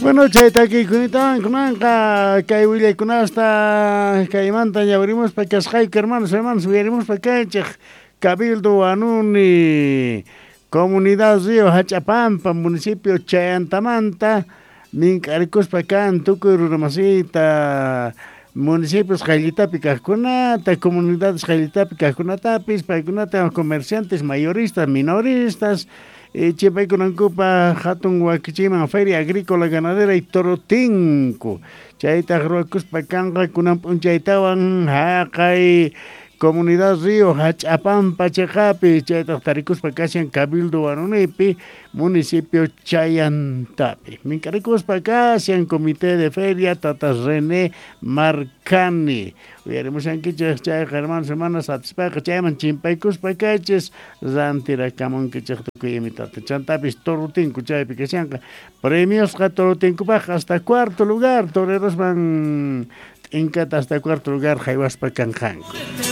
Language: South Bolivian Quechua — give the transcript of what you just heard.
Bueno, chay takiykunatawan kunanqa kay willaykunasta kaymanta ñawirimuspa kasqayku, hermanos, hermanos, uyarimuspa kaychej Cabildo Huanuni, Comunidad Río Hachapampa, municipio Chayantamanta, mink'arikuspa kan tukuy runamasita, municipios qayllitapi kajkunata, comunidades qayllitapi kajkunatapis, paykunata comerciantes, mayoristas, minoristas, chipaykunankupaj jatun wakichiyman Feria Agrícola Ganadera y Torotinku. Chaytaj ruwakuspa kanqa kunan p'unchaytawan jaqay Comunidad Río Hach'apampa cheqapi, chaytaj tarikuspa kashan Cabildo Huanunipi, municipio Chayantapi. Mink'arikuspa kashan Comité de Feria Tata René Marcani. Uyarimushankichej chayqa, hermanos, hermanas, atispaqa chayman chimpaykuspa kaychis, rantirakamunkichej tukuy imitata. Chantapis Torotinku chaypi kashanqa. Premiosqa Torotinkupaj hasta cuarto lugar, torerosman t'inkata hasta cuarto lugar jaywaspa kanqanku.